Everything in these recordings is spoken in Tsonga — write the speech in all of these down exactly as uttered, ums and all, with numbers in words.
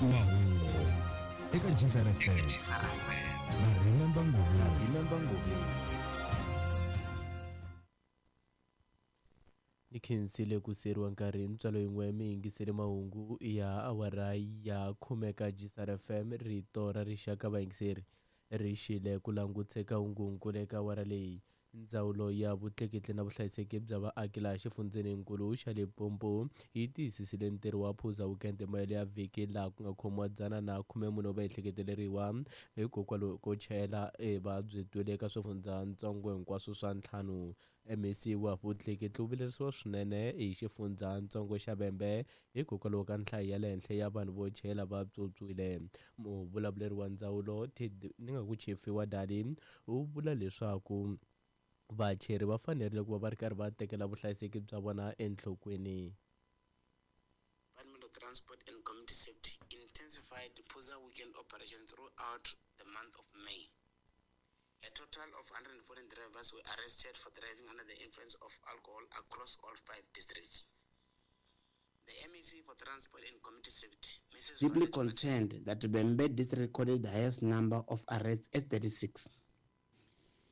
Mahungu eka G S R F M na Remember Ngobeni. Remember Ngobeni. Ni khensile ku seriwa nkarhi ntswalo yin'we mi yingisele mahungu ya awara ya khume ka G S R F M, rito ra rixaka. Vayingiseri ri xile ku languteka hungunkulu eka awara leyi. Ndzawulo ya vutleketli na vuhlayiseki bya vaaki laha xifundzeninkulu xa Limpopo yi tiyisisile ntirho wa Phuza Weekend mahelo ya vhiki, laha ku nga khomiwa dzana na khume mune va ehleketeleriwa hikokwalaho ko chayela e va byi twile eka swifundzatsongo hinkwaswo swa ntlhanu. M E C wa vutleketli wu vilerisiwa swinene hi xifundzatsongo xa Vhembe hikokwalaho ka nhlayo ya le henhla ya vanhu vo chayela va pyopyiwile. Muvulavuleri wa ndzawulo, ni nga ku Tshifhiwa Dali, u vula leswaku vacheri va fanerile ku va va ri karhi va tekela vuhlayiseki bya vona enhlokweni. Department of Transport and Community Safety intensified the Phuza Weekend operation throughout the month of May. A total of one hundred fourteen drivers were arrested for driving under the influence of alcohol across all five districts. The M E C for Transport and Community Safety, Missus Deeply Violet concerned that Vhembe district recorded the highest number of arrests at thirty-six.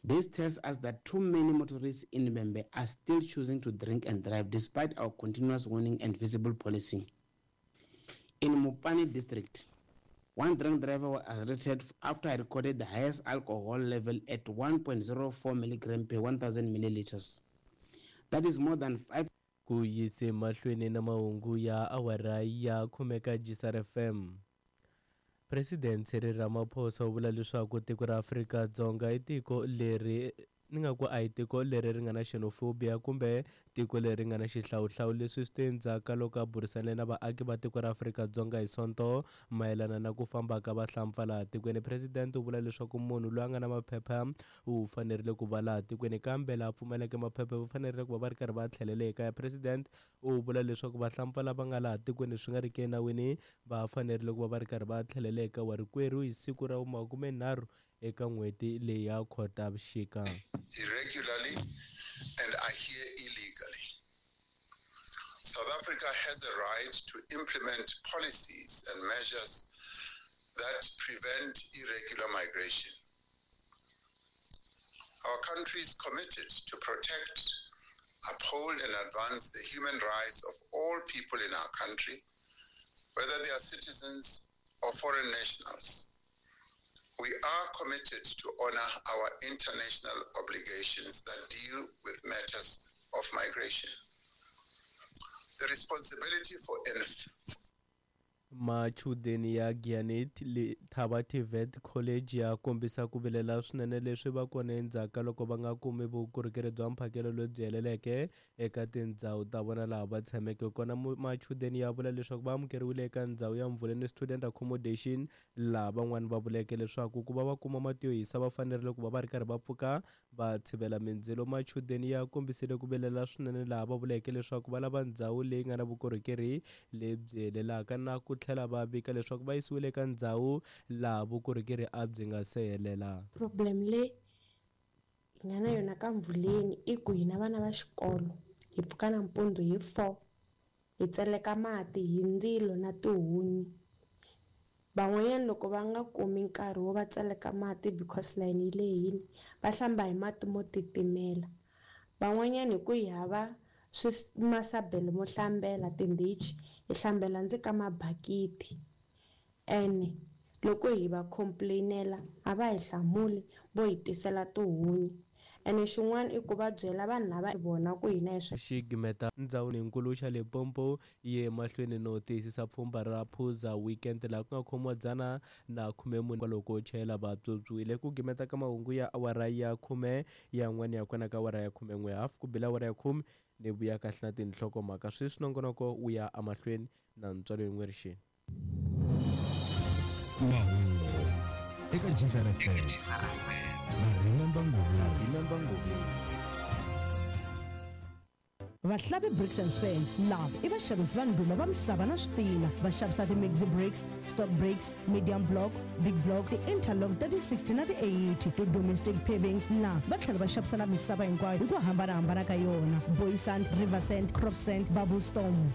This tells us that too many motorists in Vhembe are still choosing to drink and drive despite our continuous warning and visible policing. In Mopani district, one drunk driver was arrested after he recorded the highest alcohol level at one point zero four milligram per one thousand milliliters. That is more than five Ku yise mahlweni na mahungu ya awara ya khume ka G S R F M. President Cyril Ramaphosa u vula leswaku tiko ra Afrika-Dzonga i tiko leri ni nga ku a hi tiko leri ri nga na xenophobia kumbe tiko leri nga na xihlawuhlawu. Leswi swi te endzhaku ka loko a burisane na vaaki va tiko ra Afrika-Dzonga hi Sonto mayelana na ku famba ka vahlampfa laha tikweni. President u vula leswaku munhu loyi a nga na maphepha u fanerile ku va laha tikweni, kambe laha pfumaleke maphepha va fanerile ku va va ri karhi va tlhelela ekaya. President u vula leswaku vahlampfa lava nga laha tikweni swi nga ri ki enawini va fanerile ku va va ri karhi va tlhelela eka warikwerhu hi siku ra makumenharhu eka n'hweti leyi ya Khotavuxika. Irregularly and are here illegally. South Africa has a right to implement policies and measures that prevent irregular migration. Our country is committed to protect, uphold, and advance the human rights of all people in our country, whether they are citizens or foreign nationals. We are committed to honor our international obligations that deal with matters of migration. The responsibility for enf- Machudeni ya Giyani Thaba T V E T College ya kombisa ku vilela swinene leswi va kona endzhaku ka loko va nga kumi vukorhokeri bya mphakelo lebyi heleleke eka tindhawu ta vona laha va tshameke kona. Machudeni ya vula leswaku va amukeriwile eka ndhawu ya Mvuleni Student Accommodation, laha van'wani va vuleke leswaku ku va va kuma mati yo hisa va fanerile ku va va ri karhi va pfuka va tshivela mindzilo. Machudeni ya kombisile ku vilela swinene laha va vuleke leswaku va lava ndhawu leyi nga na vukorhokeri lebyi helelaka, na ku tlhela va vika leswaku va yisiwile eka ndhawu laha vukorhokeri a byi nga se helela. Problem leyi hi nga na yona ka Mvuleni i ku hina vana va xikolo hi pfuka nampundzu hi four, hi tseleka mati hi ndzilo na tihunyi. Van'wanyana loko va nga kumi nkarhi wo va tseleka mati because layeni yi lehile, va hlamba hi mati mo titimela. Van'wanyana hi ku hi hava masabelo mo hlambela, tindichi, hi hlambela ndzi ka mabakiti. Ene loko hi va complain-ela a va hi hlamuli, vo hi tisela tihunyi. Ene xin'wana i ku va byela vanhu lava vona ku hina hi swi Xigimeta ndzawulo xa Limpopo yi ye mahlweni no tiyisisa pfhumba ra Phuza Weekend, laha ku nga khomiwa dzana na khume mune kwalomu ko chayela va pyopyiwile. Ku gimeta ka mahungu ya awara ya khume yan'wana ya kona ka awara ya khume n'we hafu ku bela awara ya khume ni vuya kahle na tinhlokomhaka. Sweswi nongonoko wu ya emahlweni na ntswalo yin'we rixini. Mahungu eka G S R F M na Remember Ngobeni. Remember Ngobeni. Vahlavi Bricks and Sand lava i vaxavisi va ndhuma va misava na switina. Va xavisa ti-maxi bricks, stock bricks, medium block, big block, ti-interlock thirty sixty na ti eighty, ti-domestic pavings. La va tlhela va xavisa na misava hinkwayo hi ku hambanahambana ka yona: boy sand, river sand, crop sand, bubble storm.